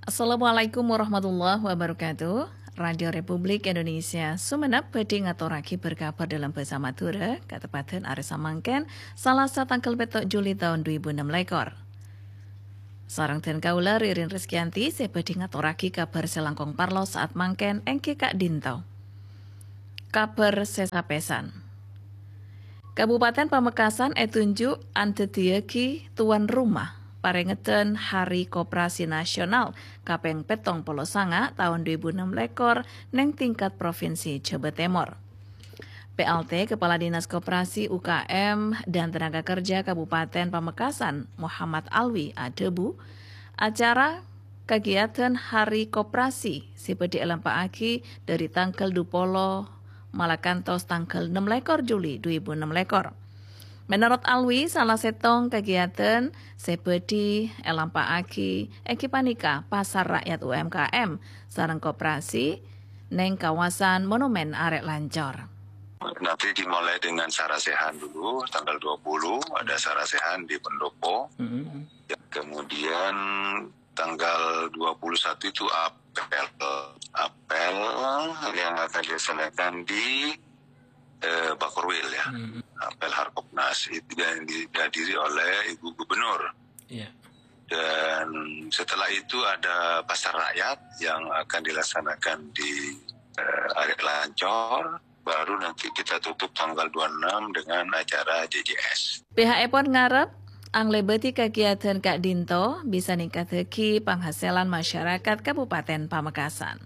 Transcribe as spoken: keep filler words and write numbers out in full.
Assalamualaikum warahmatullahi wabarakatuh. Radio Republik Indonesia Sumenep bhâdhi ngatorraghi berkabar dalam bhâsa Madhurâ, kateppa'an arè samangkèn, Salasa tangghâl pètto' Juli taon dhu èbu ennem lèkor. Sareng dhân kaulâ Ririn Rizkyanti sè bhâdhi ngatorraghi kabhâr sè langkong parlo saat mangkèn èngghi ka'dinto. Kabhâr sè sapèsan. Kabupaten Pamekasan ètunju' andhâddhiyâghi tuan rumah parèngedhân Hari Koperasi Nasional kapèng pèttong polo sanga taon dhu èbu ennem lèkor neng tingkat Provinsi Jhâbâ Tèmor. P L T Kepala Dinas Koperasi, U K M, dan Tenaga Kerja Kabupaten Pamekasan, Muhammad Alwi, adhâbu, acara kagiatan Hari Koperasi sè bhâdhi èlampa'aghi dhâri tangghâl dhu polo malakantos tangghâl ennem lèkor Juli dhu èbu ennem lèkor. Menurut Alwi, sala sèttong kagiatan sè bhâdhi èlampa'aghi èngghi panèka Pasar Rakyat U M K M sareng koperasi neng kawasan Monumen Arè' Lancor. Nanti dimulai dengan sarasehan dulu, tanggal dua puluh ada sarasehan di pendopo. Mm-hmm. Ya, kemudian tanggal dua puluh satu itu apel. Apel yang akan dilaksanakan di, eh, Bakorwil, ya. Mm-hmm. Apel Harkopnas itu yang dihadiri oleh Ibu Gubernur. Iya. Dan setelah itu ada pasar rakyat yang akan dilaksanakan di, eh, Arè' Lancor. Baru nanti kita tutup tanggal dua puluh enam dengan acara J J S. Pihakèpon ngarep, anglèbâdhi kagiatan ka'dinto bisa ningkaddhâghi panghasilan masyarakat Kabupaten Pamekasan.